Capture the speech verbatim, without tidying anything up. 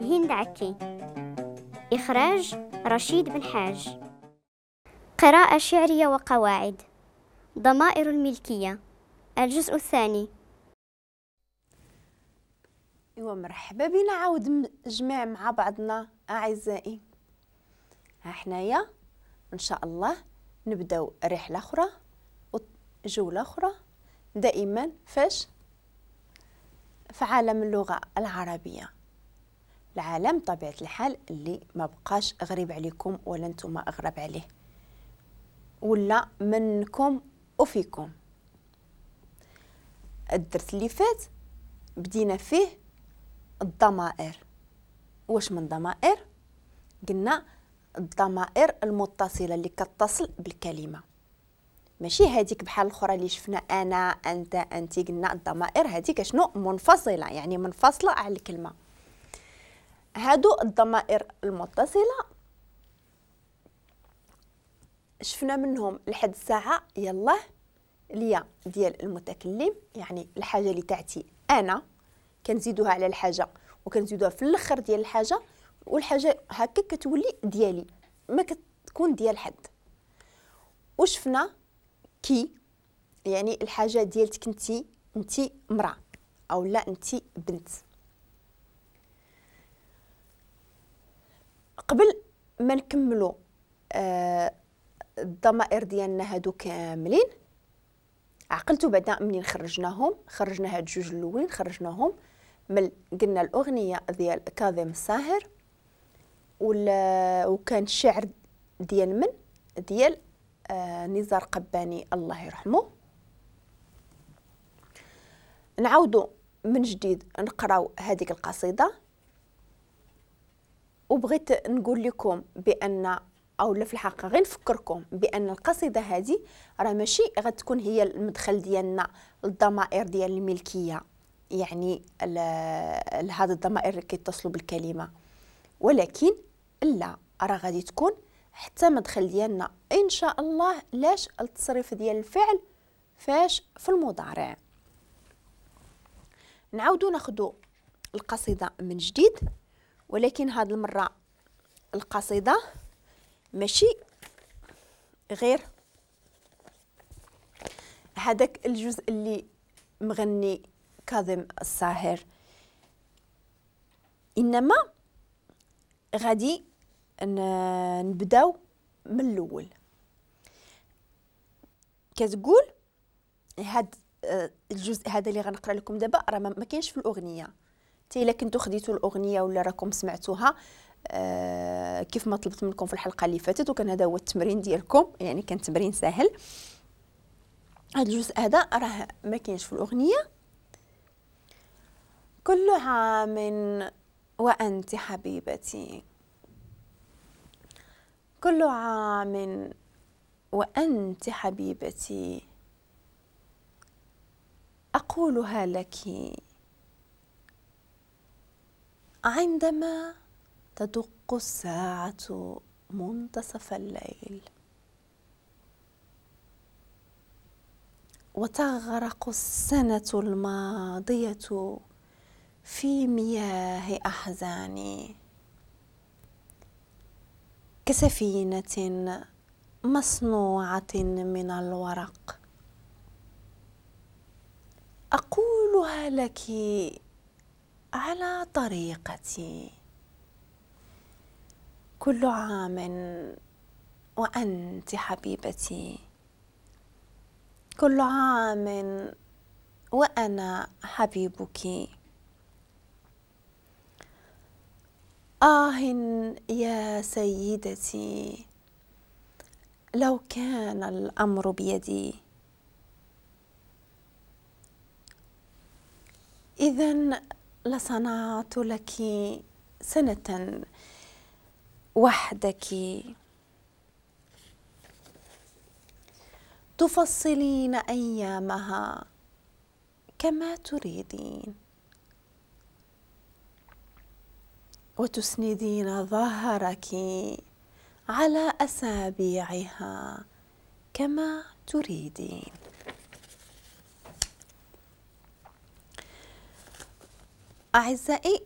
هند عكي. إخراج رشيد بن حاج. قراءة شعرية وقواعد. ضمائر الملكية، الجزء الثاني. ايوا مرحبا بنا عاود جميع مع بعضنا اعزائي. ها حنايا ان شاء الله نبداو رحله اخرى وجوله اخرى دائما فاش في عالم اللغة العربية، العالم طبيعة الحال اللي ما بقاش غريب عليكم ولا نتوما اغرب عليه ولا منكم وفيكم. الدرس اللي فات بدينا فيه الضمائر. واش من ضمائر؟ قلنا الضمائر المتصلة اللي كتصل بالكلمة، ماشي هذيك بحال الاخرى اللي شفنا انا انت انت. قلنا الضمائر هذيك شنو؟ منفصلة، يعني منفصلة على الكلمة. هادو الضمائر المتصلة شفنا منهم لحد الساعة يلاه اليا ديال المتكلم، يعني الحاجة اللي تعتي انا كنزيدوها على الحاجة وكنزيدوها في الاخر ديال الحاجة، والحاجة هكا كتولي ديالي ما كتكون ديال حد. وشفنا كي، يعني الحاجة ديالتك انتي، انتي مراة او لا انتي بنت. قبل ما نكملوا آه الضمائر ديالنا هادو كاملين، عقلتو بعدا منين خرجناهم؟ خرجنا هاد جوج الاولين خرجناهم من قلنا الاغنية ديال كاظم الساهر، ولا وكان الشعر ديال من؟ ديال آه نزار قباني الله يرحمه. نعاودو من جديد نقراو هذيك القصيدة، وبغيت نقول لكم بان او لا في الحقيقة غير نفكركم بان القصيدة هذه راه ماشي غتكون هي المدخل ديالنا للضمائر ديال الملكية، يعني هاد الضمائر اللي كيتصلوا بالكلمة، ولكن لا راه غادي تكون حتى مدخل ديالنا ان شاء الله لاش التصريف ديال الفعل فاش في المضارع. نعاودو ناخدو القصيدة من جديد، ولكن هاد المرة القصيدة ماشي غير هذاك الجزء اللي مغني كاظم الساهر، انما غادي نبداو من الاول. كتقول هاد الجزء هذا اللي غنقرا لكم دابا راه ما كاينش في الاغنية، حتى الا كنتو خديتو الاغنية ولا راكم سمعتوها آه كيف ما طلبت منكم في الحلقة اللي فاتت، وكان هذا هو التمرين ديالكم، يعني كان تمرين سهل. هذا الجزء هذا راه ما كاينش في الاغنية. كل عام وانت حبيبتي، كل عام وانت حبيبتي، اقولها لك عندما تدق الساعة منتصف الليل وتغرق السنة الماضية في مياه أحزاني كسفينة مصنوعة من الورق. أقولها لك على طريقتي. كل عام وأنت حبيبتي، كل عام وأنا حبيبك. آه يا سيدتي، لو كان الأمر بيدي، إذن لصنعت لك سنة وحدك تفصلين أيامها كما تريدين، وتسندين ظهرك على أسابيعها كما تريدين. أعزائي،